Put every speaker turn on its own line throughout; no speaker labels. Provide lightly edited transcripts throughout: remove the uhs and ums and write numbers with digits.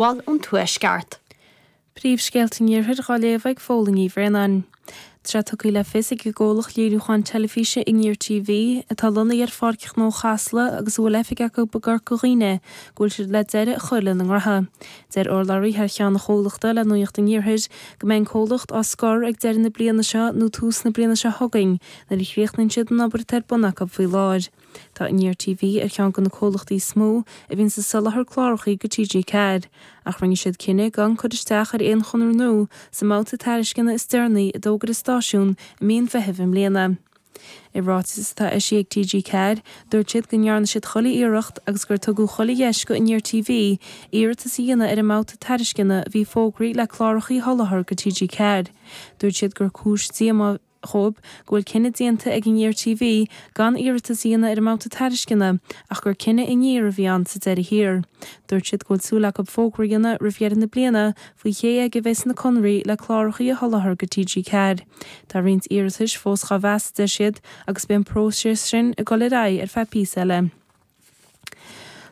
Bhfuil ón Tuaisceart.
Príomhscéalta an Iarthair dhá léamh ag Fódhla Ní Bhraonáin. Tá sé tugtha le fios ag an gcomhlacht léiriúcháin teilifíse Aniar TV, atá lonnaithe ar Pháirc Ghnó Chasla agus a bhfuil oifig acu i gCorca Dhuibhne, go bhfuil siad le deireadh a chur lena ngnótha. Deir urlabhraí thar cheann an chomhlachta le Nuacht an Iarthair go mbeidh an comhlacht á scor ag deireadh na bliana seo nó tús na bliana seo chugainn nuair a chríochnaíonn siad an obair atá ar bun acu faoi láthair. Tá Aniar TV ar cheann de na comhlachtaí is mó a bhíonns ag soláthar clárachaí go TG4, ach rinne siad cinneadh gan cur isteach ar aon chonradh nua sa mbabhta tairisceana is deireanaí a d'fhógair an stáisiún i mí an Mheithimh i mbliana. I ráiteas atá eisithe ag TG4, dúirt siad go ndearna siad chuile iarracht agus gur tugadh chuile dheis go Aniar TV iarratas a dhéanamh ar an mbabhta tairisceana a bhí fógraithe le clárachaí a sholáthar go TG4. Dúirt siad gur cúis díomá dhóibh go bhfuil cinneadh déanta ag Aniar TV gan iarratas a dhéanamh ar an mbabhta tairisceana ach gur cinneadh Aniar a bhí ann sa deireadh thiar. Dúirt siad go bhfuil súil acu fógra a dhéanamh roimh dheireadh na bliana faoi cé aige a bheas na conraí le clárachaí a sholáthar go TG4. Tá roinnt iarratais fós dhá mheas, a deir siad, agus beidh an próiseas sin ag dul ar aghaidh ar feadh píosa eile.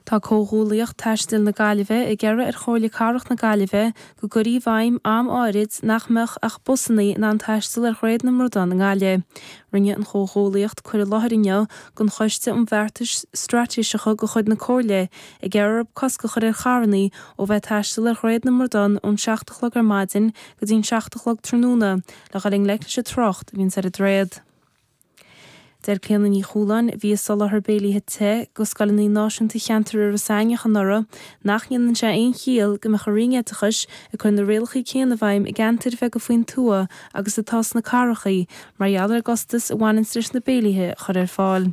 Tá Comhghuallaíocht Taistil na Gaillimhe ag iarraidh ar Chomhairle Cathrach na Gaillimhe go gcuirfí i bhfeidhm am áirid nach mbeadh ach busanna in ann taisteal ar Dhroichead na mBradán i nGaillimh. Rinne an Chomhghuallaíocht cur i láthair inniu don Choiste um Bheartais Straitéiseacha de chuid na Comhairle ag iarraidh orthu cosc a chur ar charranna ó bheith ag taisteal ar Dhroichead na mBradán ón 7 a chlog ar maidin go dtí'n 7 a chlog tráthnóna le dhul i ngleic leis an trácht a bhíonns ar an droichead. Deir Clíona Ní Chualáin, a bhí ag soláthar béilithe te go scoileanna náisiúnta cheantar Iorras Aithneach anuraidh, nach ndéanann sé aon chiall go mbeadh an Roinn Oideachais ag cur na rialacha céanna i bhfeidhm i gceantair bheaga faoin tuath agus atá sna cathracha mar gheall ar an gcostas a bhaineanns leis na béilithe a chur ar fáil.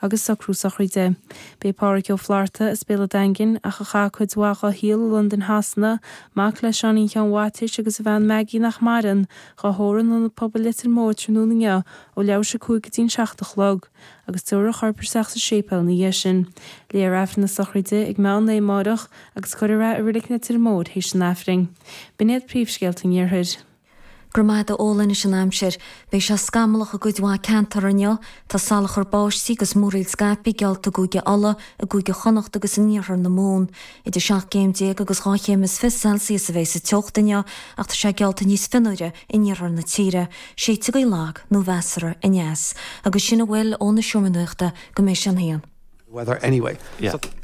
Agus socrú sochraide. B'é Pádhraic Ó Flatharta as Béal an Daingin, ach a chaith cuid mhaith dhá shaol i Londain Shasana, mac le Seáinín Sheáin Mhaitiais agus a bhean Maggie nach maireann, dhá thórramh in Ionad Pobail Leitir Móir tráthnóna inniu ó leathuair tar éis a 5 go dtí'n 7 a chlog, agus tabharfar a chorp isteach sa séipéal ina dhiaidh sin. Léifear Aifreann na sochraide ag meán lae amáireach agus cuirfear é i Reilig Leitir Móir théis an Aifrinn. B'in iad príomhscéalta an Iarthair.
Go raibh maith agat a Fhódhla anois an aimsir. Beidh sé scamallach i gcuid mhaith ceantar inniu. Tá salachar báistí agus múraíl scaipthe geallta i gCúige Uladh, i gCúige Chonnacht agus in iarthar na Mumhan. Idir 17 gcéim agus 2 chéim is 20 Celsius a bheidh sa teocht inniu ach tá sé geallta níos fionnuaire in iarthar na tíre. Séidfidh gaoth lag nó mheasartha aneas. Agus sin a bhfuil ón Seomra Nuachta go mbeidh sé an haon.
weather anyway.
Yeah.
So.